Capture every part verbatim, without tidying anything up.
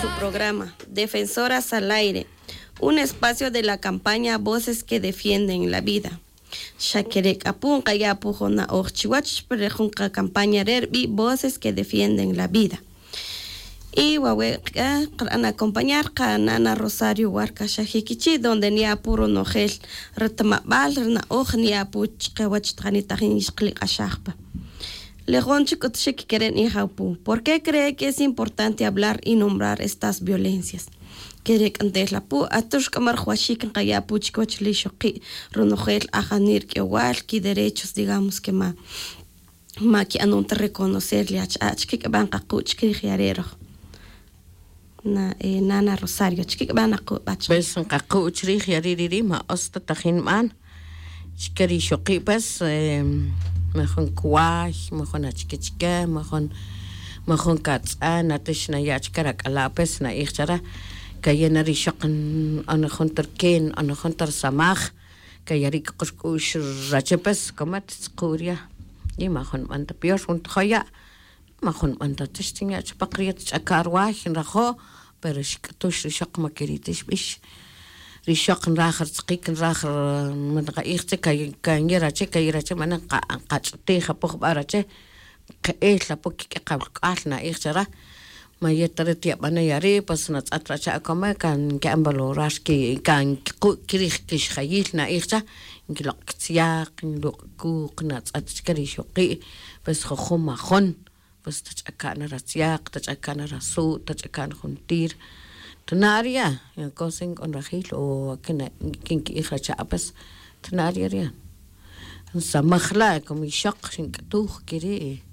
Su programa Defensoras al Aire, un espacio de la campaña Voces que Defienden la Vida. Xa kere' k'a pu nqaya' pu jun na'oj chiwach ri jun qacampaña re' rib'i' Voces que Defienden la Vida. Y wawe' k'a qara'n acompañar qanana Rosario Huarca Xajikichi', donde niya' pu ronojel ri tamab'al ri na'oj niya' pu chiqawach taqani tajin xqliq'axaj pa. Le jun chik k'utuxik kere' ni'ij apu: ¿Por qué cree que es importante hablar y nombrar estas violencias? Kere' k'a ntel apu, atux k'a ma rajwaxik nqaya' apu chikiwach le ixoqi' ronojel ajanir k'iyowal kiderechos, digamos, que ma ma ki'anon ta reconocer le ach'a'. Achike k'a b'a' nqaqu' chikirij yare' roj? Na, eh, nana Rosario, achike k'a b'a' naqu' b'a' chikirij? Pues nqaqu' chirij yare' riri' ma utz ta tajin nb'an chike ri ixoqi', pues, eh, majun kway, majun achike chike, majun, majun katz'an, atix naya' chike rak'ala', pues, na'ij chare, kaye' na ri ixoq nb'an jun ta rike, nb'an jun ta risamaj, kaya' ri' kq'ux k'u'x rache, pues, como at tzuqu' rya'y, y majun nb'an ta peor, jun tojo' ya', majun nb'an ta, atix tinya' chupoq rya'y, tch'aka' rway, nrajo', pero xk'utux ri ixoq, ma keri' ta xb'ix. Ri ixoq nraj ri tz'iqik, nraj ri, ma nqa'ij chik, kay-, kan ye' rache, kaye' rache, ma nqa-, nqach'utij apo jub'a' rache, nqe'el apo kik'e qawalk'ual, na'ij chare. Ma yet ta ri tiyab'ana' yare', pues, natz'at rache, akome kan nki'an valorar ki-, kan kiqu' kirij kixjayil, na'ij cha, nkiloq' kitzyaq, nkiloq' kuq, natz'at chike ri ixoqi', pues, jujun majun, pues, tach'aka' na ratzyaq, tach'aka' na rasu', tach'aka' na juntir. Tana' ri ya, ya cosa nk'o nrajil, o kin, kin ki'ij rache, pues, tana' ri ya, ri ya. Nsamaj la, como ixoq xink'utuj kiri',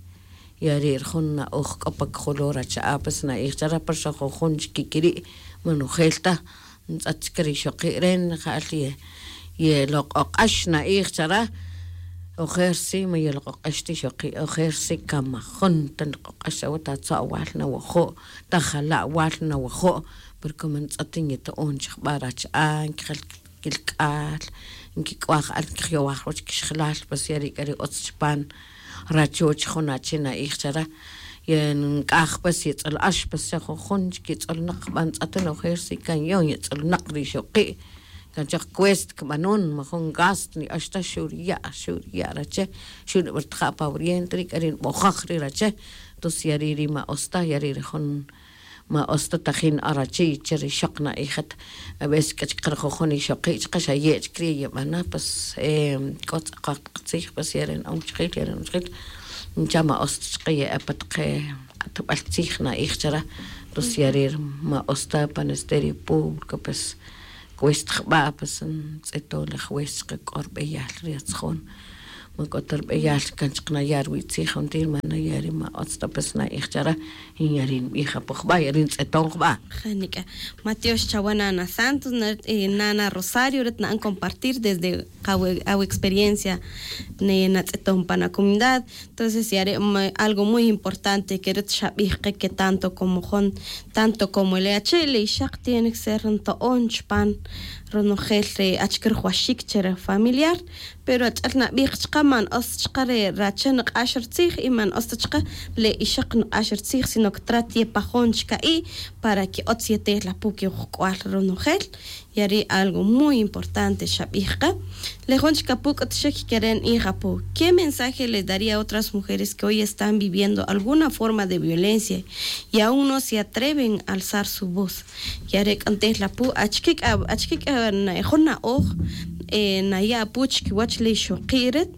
yare' ri jun na'oj k'o pa kojolor rache, pues, na'ij chare, pero xa jujun chike kiri', ma nojel ta. Ntz'at chike ri ixoqi' re', ja'al ye-, yeloq'oq'ax, na'ij chare. Ojer sí, ma yeloq'oq'ax ta ixoqi', ojer sí, kan majun ta nloq'oq'ax, awe' ta atzu' awal nawajo', ta jala' awal nawajo', pero como ntz'at nyeto'on chi jub'a' rache, nkijal kilk'al, nkik'uaj al, nkijyowaj wach kixjelal, pues, yare' k'a ri utz chipan rachoch jun achi, na'ij chare. Ye nk'aj, pues, yetz'ul ax, pues, xa jujun chik yetz'ulnaq jub'a' ntz'at, ojer sí kan yo yetz'ulnaq ri ixoqi', kan choj cuesta kib'anon, majun gasto ni ax ta, xu' ri ya', xu' ri ya' rache, xu' nib'irtaja' pa wuriente ri, k'ari' nb'ojaj ri rache. Entonces yare' ri ma utz ta, yare' ri jun ma utz ta tajin na'an rache y che ri ixoq, na'ij at. A veces k'a chik ri jujun ixoqi' chike xa ye' chik ri' yeb'ana, pues, eh, k'o tz'aqoj taq tzij, pues, yare' na'an wachajil, yare' na'an wachajil, ncha ma utz ta chike ye'e pa taq q'atb'al tzij, na'ij chare. Entonces yare' ri ma utz ta pa Ministerio Público, pues, cuesta jub'a', pues, ntz'eton le juez chike, k'o ri b'eyal ri atzjon, ma k'o ta ri b'eyal kan chik naya' ruwi' tzij, juntir ma naya' ri ma utz ta, pues, na'ij chare, y yare' nb'ij apo jub'a', yare' ntz'eton jub'a'. Ja nika'. Ma tiox chawe, nana Santos, na, eh, nana Rosario, ri ta na'an compartir desde qawe-, awe experiencia, ne, natz'eton pan acomunidad. Entonces yare' ma-, algo muy importante que ri ta xab'ij qe, que tanto como jun, tanto como le achi', le ixaq tiene que ser nto'on chipan ronojel re achike rujwaxik che re familiar. Pero ach'el nab'ij chaqe, man utz chaqe re rache nq'ax ritzij y man utz ta chaqe le ixaq nq'ax ritzij, sino que trat yepajon chika'i' para que utz yetej la pu kejuk'ual ronojel. Yare' algo muy importante xab'ij qe. Le jun chik apu k'utuxik kere' nb'ij apu: ¿Qué mensaje le daría a otras mujeres que hoy están viviendo alguna forma de violencia y aún no se atreven a alzar su voz? Yare' k'a ntel apu, achike k'a, achike k'a na-, jun na'oj, eh, naya' apu chikiwach le ixoqi' ret,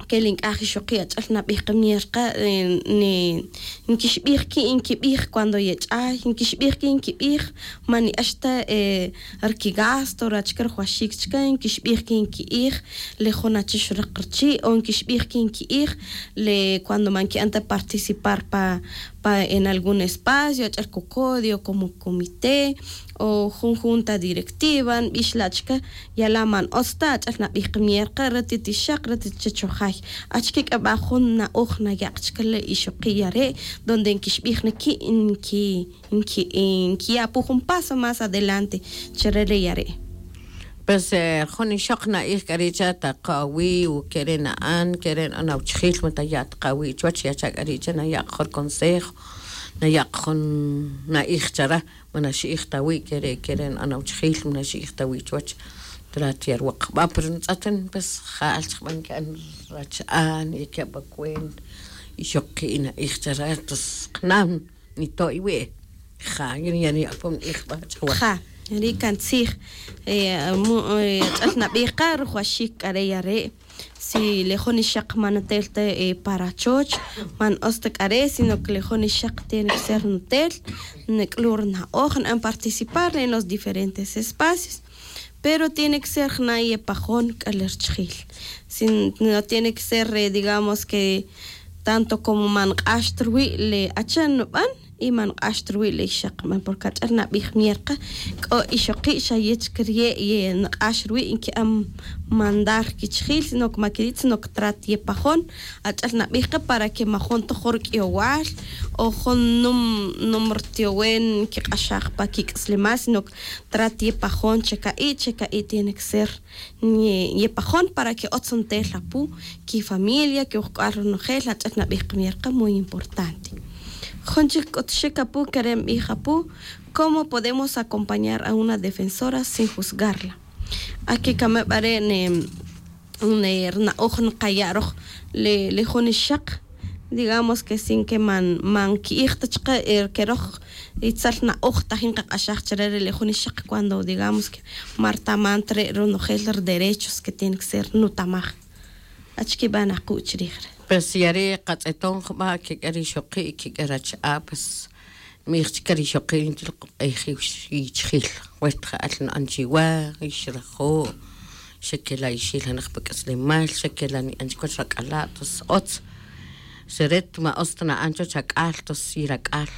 ke le nk'aj ixoqi' ach'el nab'ij qe mier qe, eh, ne, nkixb'ij ki' nkib'ij cuando yech'ay, nkixb'ij ki' nkib'ij, man ni'ax ta, eh, ri kigasto, ri achike rujwaxik chike, nkixb'ij ki' nki'ij le jun achi xraq richi', o nkixb'ij ki' nki'ij le cuando man ki'an ta participar pa, pa en algún espacio, ach'el COCODI o como comité, o jun junta directiva, nb'ix la' chike, ya la' man utz ta, ach'el nab'ij qe mier qe, ret yet ixaq, ret yet chachojay. Achike k'a b'a' jun na'oj naya' qa chike le ixoqi' yare', donde nkixb'ij na ki', nki-, nki-, nkiya' apu jun paso más adelante che re le yare'? Pues, eh, jun ixoq na'ij k'a ri' che, taqo awi', o kere' na'an, kere' na'an awachajil, ma taya' ta qa awi' chuwach, yacha' k'a ri' che, naya' qa jun ri consejo, naya' jun na'ij chare. Man naxi'ij ta wi' kere' kere' na'an awchajil, man naxi'ij ta wi' chuwach. Trat ya rwaq jba pero ntz'atan pues ja'al chaqban ki'an racha'an y ki'an pa cuenta. Y xoqi' na'ij chare tos qnan nito' iwi'. Ja ya niya'pon na'ij jba chaqwa. Ja ri' kantzij. Ach'al nabij qa rujuaxik k'a re' ya re'. Si le jun ixaq man nutel ta pa rachoch, man utz ta k'a re' sino que le jun ixaq tiene que ser nutel, nuk'lu' ri na'oj na'an participar en los diferentes espacios. Pero tiene que ser jna' yepajon k'a le richajil. Si no tiene que ser digamos que tanto como man nq'ax ta ruwi' le achan nuban y man nq'ax ta ruwi' le ixaq nuban porque ach'al nabij mier qa k'o ixoqi' xa yech kiriye' ye nq'ax ruwi' nki'an mandar kichajil sino que man kiri' sino que trat yepajon. Ach'al nabij qa para que majun ta jun ruk'iyowal o jun num num ritiyowen nkiq'axaj pa kik'aslemal sino que trat yepajon che ka'i' che ka'i' tiene que ser. Yepajon para que utz ntel apu kifamilia kiwujk'ual ronojel ach'al nabij qa mier qa muy importante. Jun chik k'utuxik apu kere' nbij apu, cómo podemos acompañar a una defensora sin juzgarla? Ake kame' b'are' ne rina'oj nqaya' roj le jun ixaq. Digamos que sin que man man ki'ij ta chaqe ke roj itzel na'oj tajin nqaq'axaj chare re' le jun ixaq cuando digamos que man rtaman ta re' ronojel ri derechos que tiene que ser nutamaj. Achike b'an aqu' chirij re'? Pues ya re' qatz'eton jub'a' kik'e ri ixoqi' kik'e racha'a' pues nb'ij chike ri ixoqi' nchel qoq'ejiw yichjil. Wet ja'al na'an chiwa y xrajo'. Xa kela' ixil janaj pa k'aslemal xa kela' ni'an chiwach rak'ala' tos otz. Xeret ma otz ta na'an chuwach ak'al tos yirak'al.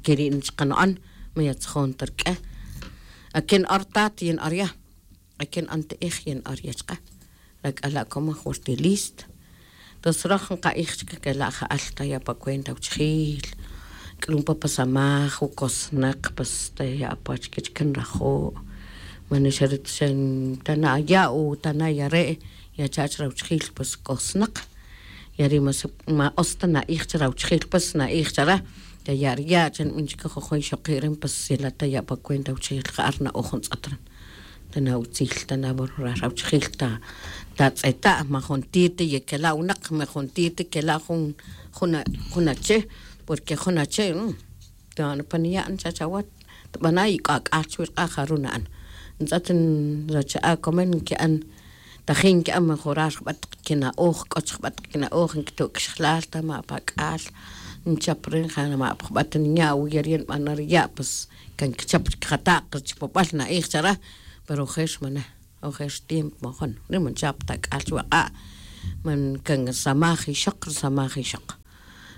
Keri' nichaqano'an ma yatzjon ta rk'e. Akin ora tat yin ora ya'. Akin ante'ej yin ora ya' chaqe. Rak'ala' komaj wertilist. Tos roj nqa'ij chike kela' ja'al taya' pa cuenta awchajil. K'lun pa pa samaj wukosnaq pues taya' pa chike chike nrajo'. Man xa ri ta xa tana' ya' o tana' ya re' yacha' chrawchajil pues kosnaq. Ya ri' ma otz ta na'ij chrawchajil pues na'ij chare. Taya' ri ya' chanb'in chike jujun ixoqi' rin pues yela' taya' pa cuenta awchajil ja'al rina'oj ntz'at rin. Tana' utzil tana' valorar awchajil ta tatz'eta' ma juntir ta yekela' winaq ma juntir ta kela' jun jun ache. Porque jun ache ta nipan ya' nicha' chawa' tb'ana' y k'o ak'al chuwi' rq'a' jaru' na'an. Ntz'at nracha'a' komon nki'an tajin nki'an mejorar jub'a' taq kina'oj k'o chi jub'a' taq kina'oj nkito' kixjlal ta ma' pa ak'al nchap rin ja ma' pa jub'a' ta ninya' wi ya ri' nb'ana' ri ya' pues kan kichap chik jataq ri chipab'al na'ij chare. Pero ojer xmana ojer xtiempo majun ri' man chap ta ak'al chuwa' q'a' man kan risamaj ixoq risamaj ixoq.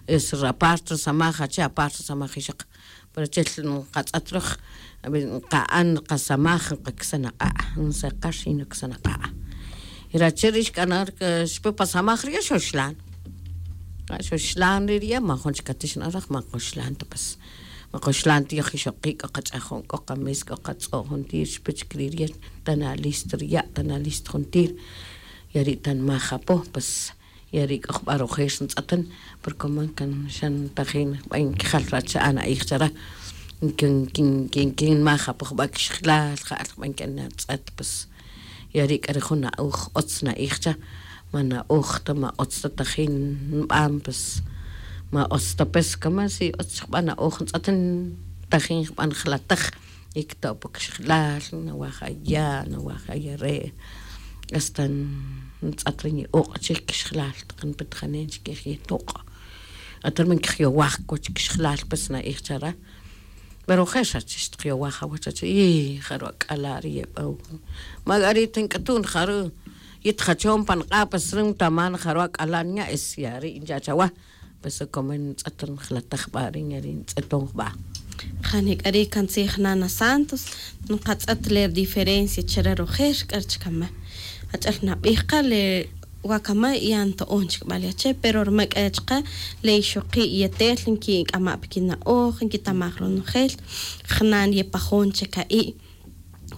Es aparte risamaj ache' aparte risamaj ixoq. Pero chel nqatz'at roj nqa'an nqasamaj nqaksan aq'a' nseqar y nuksan aq'a'. Y rache' ri' xk'ana' xpe pa samaj ri' ya' xoxlan. Xoxlan ri' ri' ya' man jun chik atix na'an raj man qoxlan ta pues. Ma qoxlan ti' yoj ixoqi' k'o qach'ajon k'o qames k'o qatz'o' juntir xpe chik ri' ri' ya' tana' listo ri' ya' tana' listo juntir. Ya ri' tanmaj apo pues. Ya ri' k'o jub'a' rojer ntz'atan. Pero como kan xa ntajin jub'a' nkijal racha'a' na'ij chare. Kin kin kin kin maj apo jub'a' kixjilal ja'al jub'a' nk'an natz'at pues. Ya ri' k'a ri jun na'oj utz na'ij cha. Ma na'oj ta ma utz ta tajin nb'an pues. Ma utz ta pues como si utz jub'a' na'oj ntz'atan tajin jub'a' njalataj. Y kito' pa kixjilal nawaj aya' nawaj aya' re'. Hasta ntz'at ri nye'oq' chik kixjilal taq npetjanen chikij yetoq'. Atar man kixyowaj kuwach kixjilal pues na'ij chare. Pero je' xa chix taq yowaj awach achi' y jaru' ak'ala' ri yeb'aw. Ma k'ari' ta nk'atu'n jaru' yit jachon pa nq'a' pues ri ntaman jaru' ak'ala' nya' es ya ri' ncha' chawa. Pues como ntz'at ri njalataj b'a' ri nya' ri ntz'eton jb'a'. Jani k'ari' kantzij nana santos. Nqatz'at le ri diferencia chare rojer k'ari' chikama'. Ach'al nab'ij qa le wakama' ya nto'on chik b'a' le ache' pero rma k'a chaqe le ixoqi' yetel nkik'ama' pa kina'oj nkitamaj ronojel. Jnan yepajon che ka'i'.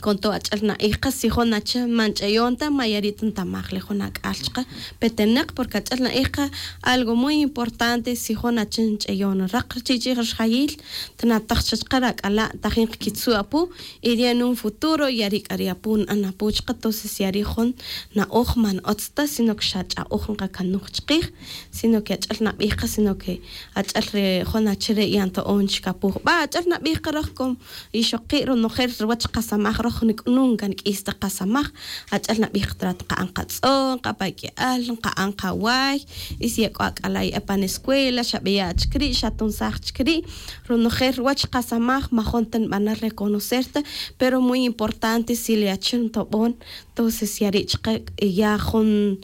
Con todo ach'el na'ij qa si jun ache man ch'eyon ta ma yari' ta ntamaj le jun ak'al chaqe peteneq, porque ach'el na'ij qa algo muy importante. Si jun ache nch'eyon raq rchi' chi' rxjayil, tnataj cha chaqe rak'ala' tajin qkitzu' apu, y ri' en un futuro yari' k'a ri' apu na'an apu chaqe. Tonces yari' jun na'oj man otz ta, sino que xa ch'a'oj nqakanuj chqij, sino que ach'el nabij qa, sino que ach'el re jun ache re' ya nto'on chik apu jub'a'. Ach'el nabij qa roj como ixoqi', ronojel ruwach qasamaj roj, nunca nk'is ta qasamaj. Ach'el nabij qa, trat nqa'an qatz'o, nqa'an pa k'i'al, nqa'an qaway, y si ya k'o ak'ala' ye'e pan escuela, xa b'eya' chik ri', xa tunsaj chik ri'. Ronojel ruwach qasamaj majun ta nb'ana' reconocer ta, pero muy importante si le ache ntob'on. Entonces yari' chaqe ya jun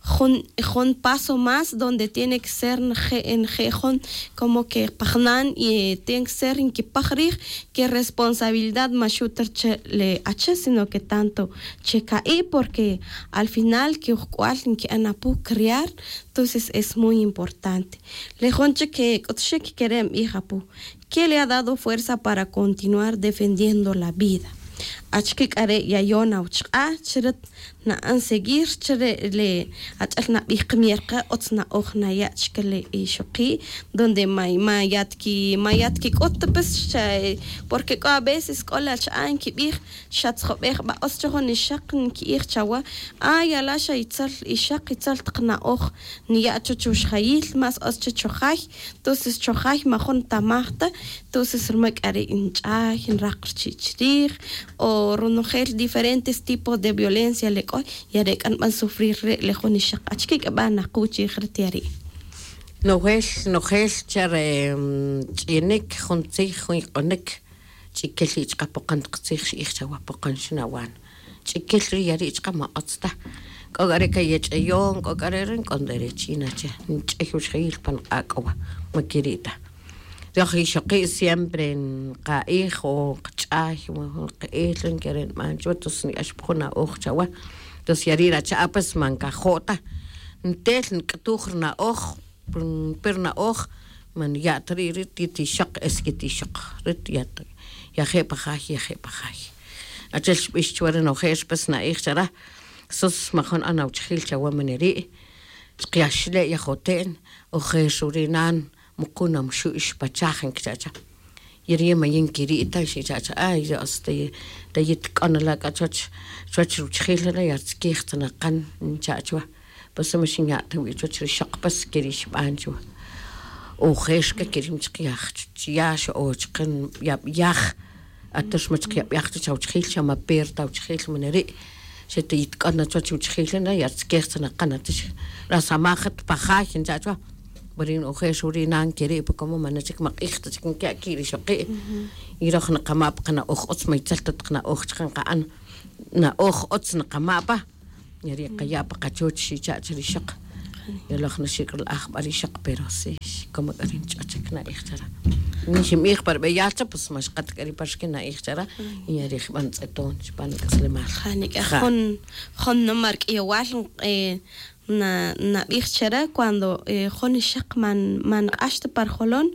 jun jun paso más donde tiene que ser nje' nje' jun como que pa jnan, y tiene que ser nkipaj rij que responsabilidad ma xu' ta rchë le ache, sino que tanto che ka'i', porque al final que ujk'ual nki'an apu criar. Entonces es muy importante. Le jun chik k'utxik kere' nb'ij apu: ¿Qué le ha dado fuerza para continuar defendiendo la vida? Achike k'a re' yayon awuchq'a' chi rit na'an seguir chi re' le ach'el nabij qa, mier qa otz na'oj naya' chike le ixoqi', donde ma ma yat ki ma yat kik'ut ta pues xa, porque k'o a veces k'o la cha'a' nkibij xatzjobej b'a' otz cho jun ixaq, nki'ij chawa: Ay, ala' xa itzel ixaq, itzel taq na'oj niya' cho chuxjayil, más otz cho chojay. Entonces chojay majun ntamaj ta. Entonces rma k'a ri' nch'ay nraq rchi' chrij, o ronojel diferentes tipos de violencia le k'o, y are' k'a nb'an sufrir re' le jun ixaq. Achike k'a b'a' naquw chi ri' ti' ri'? Nojel nojel cha re ch'inik jun tzij jun yq'onik, ch'ikil ri' chqapoqon taq tzij xi'ij chawa poqon xnawan. Ch'ikil ri' ya ri' chqa ma otz ta. K'o k'a re' kayech'ayon, k'o k'a re' ri' nk'on derecho yin ache nch'ay wuxjayil pan q'a' k'o wa, ma ke ri' ta. Roj ixoqi' siempre nqa'ij o qch'ay, ma jun qe'el ri nkere' nb'an chuwa, tos nik'ax pa jun na'oj chawa. Tos ya ri' racha'a pues ma nkajo' ta. Ntel nk'tuj ri na'oj, pero na'oj man ya' ta ri' ri' ti' ti ixoq, es que ti ixoq ri' ya' ta, yaje' pa jay, yaje' pa jay. Achel xb'ix chuwa ri nojel pues na'ij chara, sos ma jun na'an awuchjil chawa man ri'. Chqe axle' yajote'n, ojer xu' ri nan, muqun amuxu'x pa chaj, nkicha' cha. Y ri' ma yin kiri' ta, xicha' cha. Ay Dios, ta yet k'o na la' k'a chuwach, chuwach ruchjil la' ya rtzikij tzanaqan, ncha' chuwa. Pues ma xinya' ta wi' chuwach ri ixoq, pues keri' xb'an chuwa. Ojer k'a keri' ma chaq ya, ya xo o chqe yab'yaj. Ater ma chaq yab'yaj chuwach awuchjil, xa ma per ta awuchjil man ri'. Xe ta yet k'o na chuwach wuchjil na ya rtzikij tzanaqan, ater xa rasamaj ta pa jay, ncha' chuwa. Pero yin ojer xu' ri nan keri', pues como man chik ma q'ij ta chik nkiya' ki' ri ixoqi'. Y roj nqama' pa qana'oj otz, ma itzel ta taq na'oj chqe nqa'an, na'oj otz nqama' pa. Ya ri' qaya' pa qachuch, xicha' cha ri ixoq. Yoloj na xik'rlaj jb'a' ri ixoq, pero sí, como k'a ri nch'o chik na'ij chara. Ni xinb'ij pa ri b'eyal cha, pues ma xqat k'a ri' pa rixkin na'ij chara. Y ya ri' jb'a' ntz'eton chupan k'aslemal. Ja, nik'aj jun, jun noma' ri k'ayewal, eh, na, nab'ij chara cuando, eh, jun ixaq man, man nq'ax ta pa rjolon,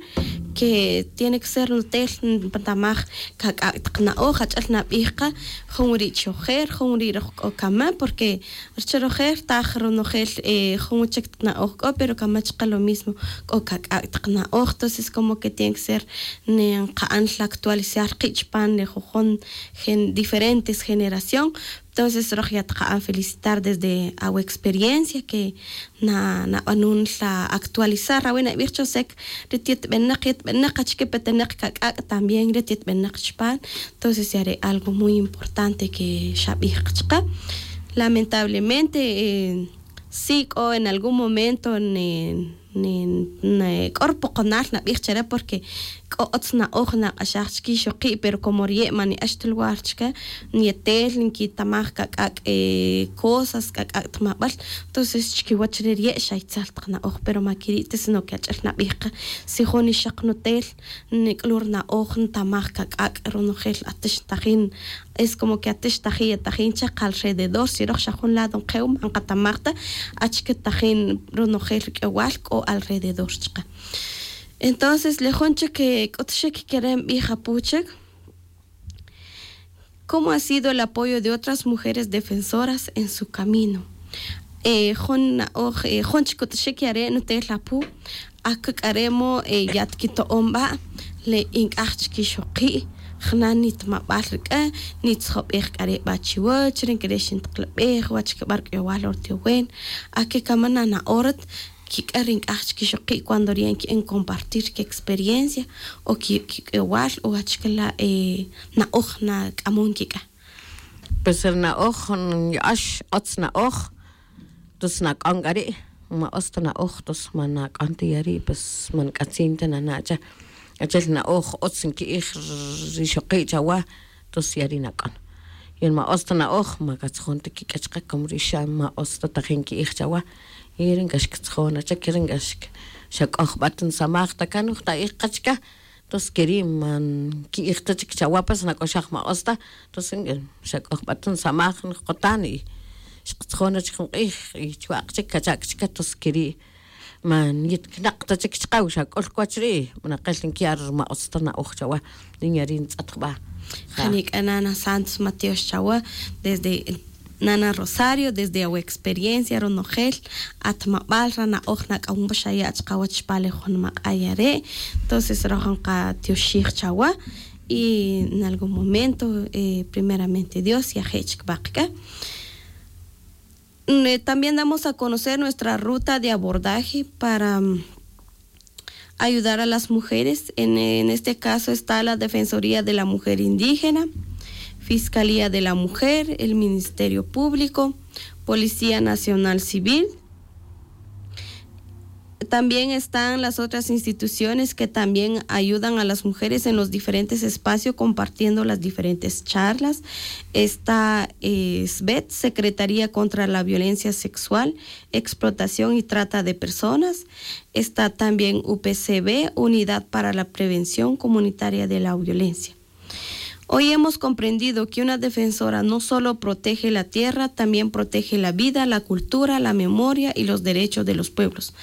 que tiene que ser ntel ntamaj kak'ak' taq na'oj. Ach'el nab'ij qa, jun wiri' chojel, jun wiri' roj k'o kama, porque rchë rojel rtaj ronojel, eh, jun chik taq na'oj k'o, pero kama chqa lo mismo k'o kak'ak' taq na'oj. Entonces como que tiene que ser nqa'an jla actualizar qi' chupan ri jujun gen-, diferentes generación. Entonces roj ya tqa'an felicitar desde awe experiencia que na, nab'anun jla actualizar. Awe nab'ij cho sek ri ti' yet b'enaq, yet b'enaq, achike peteneq kak'ak' también ri ti' yet b'enaq chupan. Entonces ya re' algo muy importante que xab'ij qa chqa. Lamentablemente, eh, sí k'o en algún momento ne, ne, ne, k'o ri poqonal nab'ij chare, porque k'o otz na'oj naq'axaj chki ixoqi', pero como riye' man ni'ax ta lugar chke, nyetel nkitamaj kak'ak', eh, cosas, kak'ak' tmab'al. Entonces chkiwach re riye' xa itzel taq na'oj, pero ma kiri' ta, sino que ach'el nab'ij qa, si jun ixaq nutel, nik'lu' ri na'oj ntamaj kak'ak' ronojel atix tajin, es como que atix tajin, ya tajin chaq alrededor, si roj xa jun lado nqew, ma nqatamaj ta achike tajin ronojel ri k'ewal k'o alrededor chqe. Entonces le jun chik, eh, k'utxik kere' nb'ij apu chik, ¿Cómo ha sido el apoyo de otras mujeres defensoras en su camino? Jun na'oj jun chkut'xik yare' nutel apu'. Akuk'aremo yat kito'on ba le ink'aj chkixoqi'. Jna' nitmabal rik'a nitzjobej k'are' ba chiwach rin kire' xintiklabej wach kib'ar k'uyowal ortiyowen. Akikama nana'orat kik'a rin k'aj chkixoqi' cuando riyan ki'en compartir kiexperiencia o kik'uyowal o achkala' na'oj nak'amon kik'a. Pues ri na'oj nya'ax otz na'oj. Tos nak'on k'a ri' ma otz ta na'oj tos ma nak'on ta ya ri' pues ma nk'atzin ta nana' cha. Achel na'oj otz nki'ij rixoqi' chawa tos ya ri' nak'on. Y ma otz ta na'oj ma katzajon ta kik'a chaqe como ri xa ma otz ta tajin nki'ij chawa. Y ri nk'ax katzajon achek ri nk'ax xa k'o jb'a ta nsamaj ta kan jta'ij qa chika. Tos keri' ma nki'ij ta chik chawa pues nak'oxaj ma otz ta. Tos xa k'o jb'a ta nsamaj nqakotan y xqatzajon achik jun q'ij y chwa' qa chik kacha' qa chika tos keri' ma nyitkinaq ta chik chaqaw xa k'ul kiwach ri' ma naqil nkiya' ri ma otz ta na'oj chawa. Ri nya ri' ntz'at jb'a. Jani k'a nana santos matiox chawa desde nana rosario desde awe experiencia ronojel. Atmab'al rana'oj nak'amon pa xaya' chaqawach pa le jun maq'a' yare'. Entonces rojon qatioxij chawa y en algún momento primeramente dios yaje' chik b'aq k'a. También damos a conocer nuestra ruta de abordaje para ayudar a las mujeres. En este caso está la defensoría de la mujer indígena, fiscalía de la mujer, el ministerio público, policía nacional civil. También están las otras instituciones que también ayudan a las mujeres en los diferentes espacios compartiendo las diferentes charlas. Está sbet secretaría contra la violencia sexual, explotación y trata de personas. Está también u p c b unidad para la prevención comunitaria de la violencia. Hoy hemos comprendido que una defensora no solo protege la tierra también protege la vida la cultura la memoria y los derechos de los pueblos.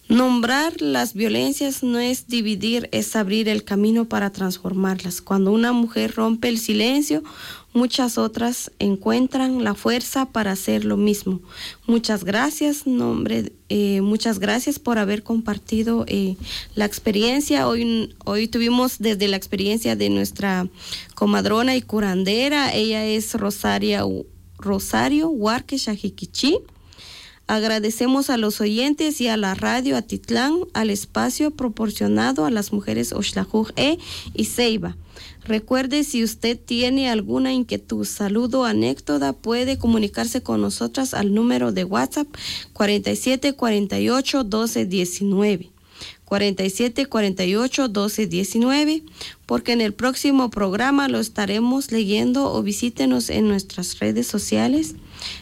Nombrar las violencias no es dividir, es abrir el camino para transformarlas. Cuando una mujer rompe el silencio, muchas otras encuentran la fuerza para hacer lo mismo. Muchas gracias nombre muchas gracias por haber compartido la experiencia. Hoy tuvimos desde la experiencia de nuestra comadrona y curandera. Ella es rosario huarque shajiquichi. Agradecemos a los oyentes y a la radio atitlán al espacio proporcionado a las mujeres oxlajuj e y ceiba. Recuerde, si usted tiene alguna inquietud, saludo o anécdota puede comunicarse con nosotras al número de whatsapp cuarenta y siete cuarenta y ocho doce diecinueve. Cuarenta y siete cuarenta y ocho doce diecinueve. Porque en el próximo programa lo estaremos leyendo o visítenos en nuestras redes sociales,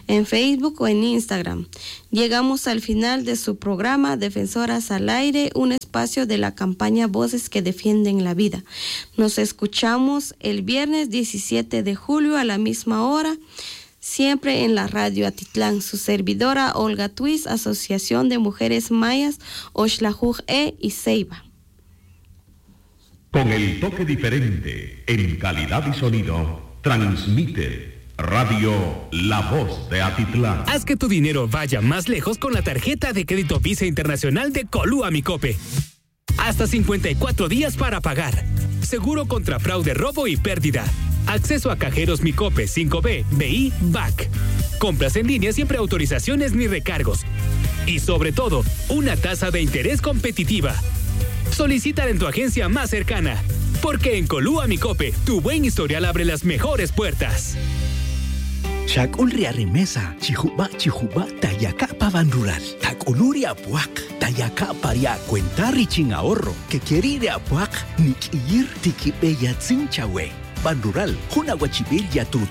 en facebook o en instagram. Llegamos al final de su programa defensoras al aire, un espacio de la campaña voces que defienden la vida. Nos escuchamos el viernes diecisiete de julio a la misma hora, siempre en la radio atitlán su servidora olga twis asociación de mujeres mayas oxlajuj e y ceiba. Con el toque diferente en calidad y sonido transmite radio la voz de atitlán. Haz que tu dinero vaya más lejos con la tarjeta de crédito visa internacional de colúa micope. Hasta cincuenta y cuatro días para pagar. Seguro contra fraude, robo y pérdida. Acceso a cajeros micope cinco b, b i, bac. Compras en línea siempre autorizaciones ni recargos. Y sobre todo, una tasa de interés competitiva. Solicítala en tu agencia más cercana. Porque en colúa micope tu buen historial abre las mejores puertas. Chak'ul ri arimesa, chijuba' chijuba' tayaka' pa van rural. Tak'ulu' ri apuak', tayaka' pa ri acuenta richin ahorro. Kekeri' ri apuak' nik'iyir tikibeyatzin chawe. Van rural, jun awachibil yatut.